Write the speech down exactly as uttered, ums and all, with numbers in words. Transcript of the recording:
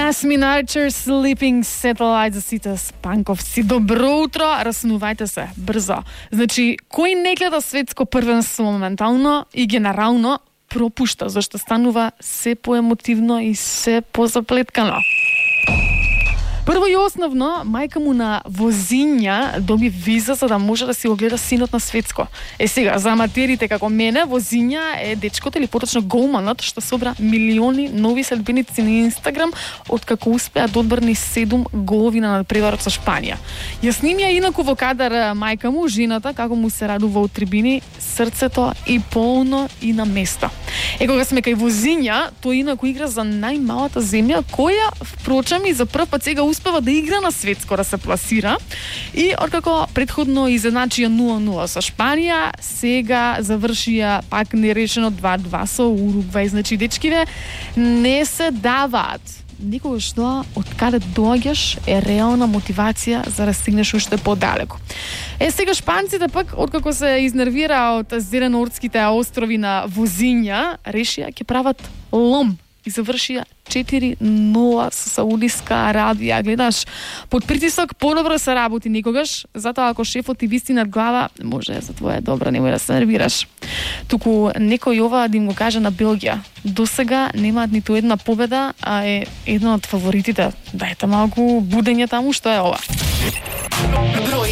Jasmine Archer, Sleeping Satellite за сите спанковци. Добро утро, раснувајте се, брзо. Значи, кој не гледа светско првенство моментално и генерално пропушта, зашто станува се поемотивно и се позаплеткано. Прво и основно, мајка му на Возиња доби виза за да може да си го гледа синот на светско. Е сега, за аматерите како мене, Возиња е дечкото или поточно голманот што собра милиони нови следбеници на Инстаграм откако успеа да одбрани седум голови на надпреварот со Шпанија. Ја снимија инаку во кадар мајка му, жената, како му се радува од трибини, срцето и полно и на место. Е, кога сме кај Возиња, тој инаку игра за најмалата земја, која, впрочем, и за прв пат сега успева да игра на светско, да се пласира. И откако предходно изедначија нула нула со Шпанија, сега завршија пак нерешено два-два со Уругвај. Значи, дечкиве не се даваат. Никогаш тоа, од каде доаѓаш, е реална мотивација за да стигнеш уште подалеку. Е, сега шпанците пак, откако се изнервира од Зеленоордските острови на Возиња, решија ќе прават лом и завршија четири нула со Саудиска Арабија. Гледаш, под притисок подобро се работи никогаш, затоа ако шефот ти виси над глава, може за твоја добра, немој да се нервираш. Туку некој ова да им го каже на Белгија. До сега немаат ниту една победа, а е едно од фаворитите. Дајте малку будење таму, што е ова.